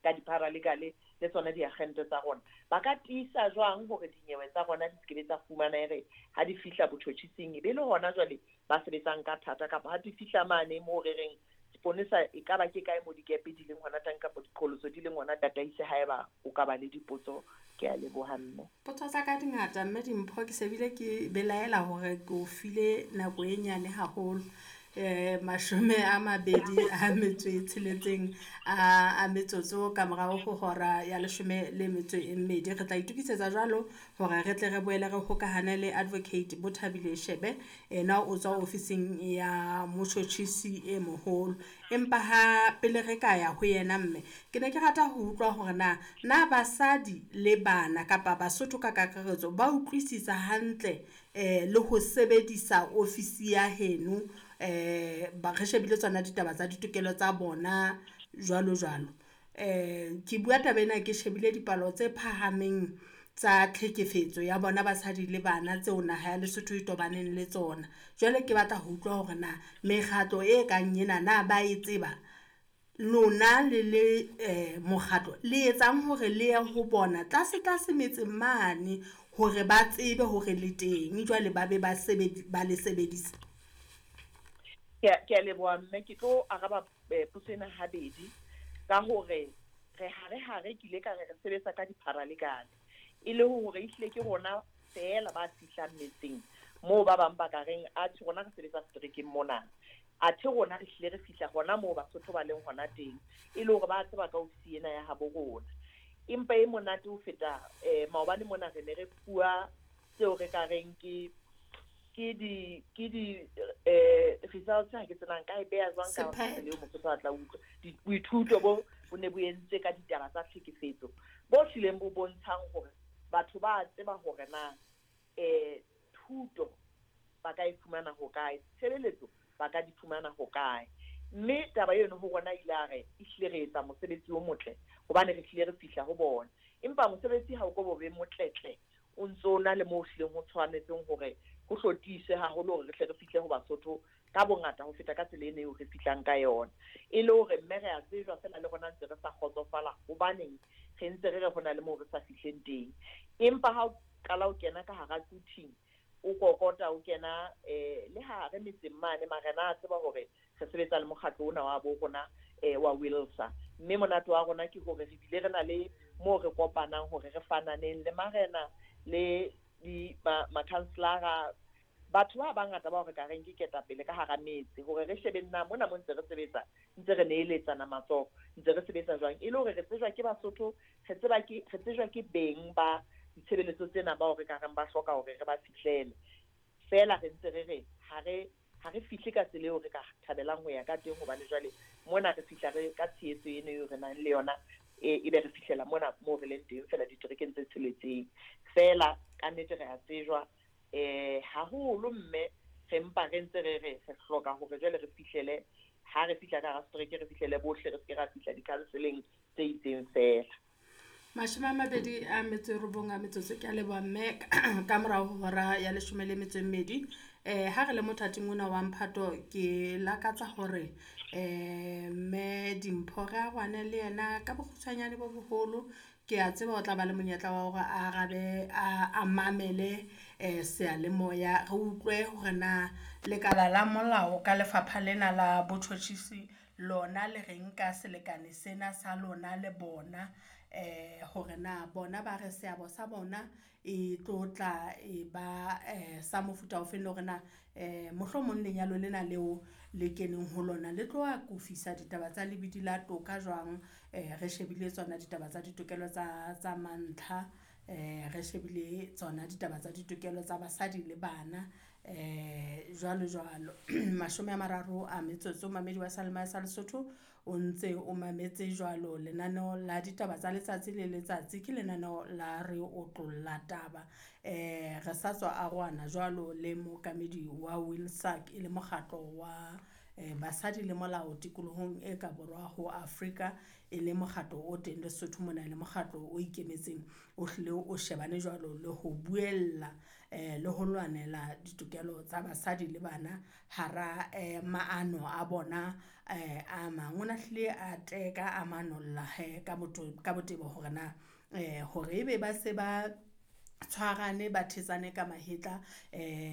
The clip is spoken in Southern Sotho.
Ka di-paralegal le tsona diagente tsa rona, ba ka tiisa jwang hore dinyewe tsa rona di se ke be tsa fumana ere ha di fihla botjhotjhising e be le hona jwale ba sebetsang ka thata, kapa ha di fihla mane moo re reng seponesa e ka ba ke kae mo dikepe di leng hona teng kapa diqholotso di leng hona. Tataise haeba o ka ba le dipotso. Ke a leboha, mme. Potso tsa ka di ngata, mme Dimpho. Ke se bile ke belaela hore ke o file nako e nyane haholo. 26 a metsotso ka morao ho hora ya 12. Re tla itokisetsa jwalo hore re tle re boele re hokahane le Advocate Bothabile Shebe, ena o tswa ofising ya motjhotjhisi e moholo. Empa ha pele re ka ya ho yena, mme, ke ne ke rata ho utlwa hore na basadi le bana kapa Basotho ka kakaretso ba utlwisisa hantle le ho sebedisa ofisi ya heno, ba re shebile tsona ditaba tsa ditokelo tsa bona jwalo jwalo. Ke bua taba ena ke shebile dipalo tse phahameng tsa tlhekefetso ya bona basadi le bana tseo naha ya Lesotho e tobaneng le tsona. Jwale ke batla ho utlwa hore na mekgatlo e kang ena na ba e tseba, lona le le mokgatlo le etsang hore le ye ho bona tlase tlase metseng mane hore ba tsebe hore le teng, jwale ba be ba ba le sebedisa. Ke a leboha, mme. Ke tlo araba potso ena habedi ka hore re hare hare ke ile ka re re sebetsa ka di-paralegal, e le hore ehlile ke rona feela ba fihlang metseng moo ba bang ba ka reng atjhe, rona re sebetsa seterekeng mona, athe rona re hlile re fihla hona moo Basotho ba leng hona teng, e le hore ba tseba ka ofisi ena ya habo rona. Empa e monate ho feta, maobane mona re ne re fuwa tseo re ka reng ke di results, ha ke tsenang ka e beha jwang ka Sephetho. Leo Mosotho a tla utlwa. Boithuto bo ne bo entswe ka ditaba tsa tlhekefetso bo hlileng bo bontshang hore batho ba tseba hore na thuto ba ka e fumana hokae, tshebeletso ba ka di fumana hokae. Mme taba eno ho rona ile a re ehlile re etsa mosebetsi o motle hobane re hlile re fihla ho bona. Empa mosebetsi ha o ko bo be motletle, o ntso na le moo hlileng ho tshwanetseng hore ho hlotiswe haholo hore re hle re fihle ho Basotho ka bongata ho feta ka tsela eno eo re fihlang ka yona. E le hore, mme, re a tsejwa fela le rona ntse re sa kgotsofala hobaneng re ntse re re ho na le moo re sa fihleng teng. Empa ha o qala o kena ka hara quthing, o kokota, o kena le hare metseng mane, marena a tseba hore re sebetsa le mokgatlo ona wa bo rona wa WILSA. Mme monate wa rona ke hore re bile re na le moo re kopanang hore re fananeng le marena le di makhanselara, batho ba bangata bao re ka reng ke ketapele ka hara metse, hore re shebeng na mona mo ntse re sebetsa, ntse re neeletsana matsoho, ntse re sebetsa jwang, e le hore re tsejwa ke Basotho, re tseba ke re tsejwa ke beng ba ditshebeletso tsena bao re ka reng ba hloka hore re ba fihlele. Feela re ntse re re ha re fihle ka tsela eo re ka thabelang ho ya ka teng, hobane jwale mona re fihla re ka tshehetso eno eo re nang le yona, e be re fihlela mona moo re leng teng fela diterekeng tse tsheletseng fela. Ka nnete re a tsejwa haholo, mme re mpa re ntse re re re hloka hore jwale re fihlele, ha re fihla ka hara setereke re fihlele bohle, re se ke ra fihla di-council-eng tse itseng fela. 29 a metsotso, ke a leboha, mme, ka morao ho hora ya 12. Ha re le mothating ona wa mphato, ke lakatsa hore mme Dimpho re arohane le yena ka bokgutshwanyane bo boholo. Ke a tseba o tla ba le monyetla wa hore a arabe, a mamele seyalemoya, re utlwe hore na lekala la molao ka lefapha lena la botjhotjhisi lona le reng ka selekane sena sa lona le bona, hore na bona ba re seabo sa bona e tlo tla e ba sa mofuta ofeng, le hore na mohlomong lenyalo lena leo le keneng ho lona le tlo akofisa ditaba tsa lebidi la toka jwang, re shebile tsona ditaba tsa ditokelo tsa mantlha, re shebile tsona ditaba tsa ditokelo tsa basadi le bana, jwalo jwalo. 30 a metsotso, mamedi wa Seyalemoya sa Lesotho, o ntse o mametse jwalo lenaneo la ditaba tsa letsatsi le letsatsi, ke lenaneo la Re Otlolla Taba. Re sa tswa arohana jwalo le mookamedi wa WILSAC, e le mokgatlo wa Basadi le Molao tikolohong e ka borwa ho Afrika, e le mokgatlo o teng Lesotho mona le mokgatlo o ikemetseng, o hlile o shebane jwalo le ho buella le ho lwanela ditokelo tsa basadi le bana hara maano a bona a mang. O na hlile a teka a manolla hee ka ka botebo hore na hore ebe ba se ba tshwarane, ba thetsane ka mahetla .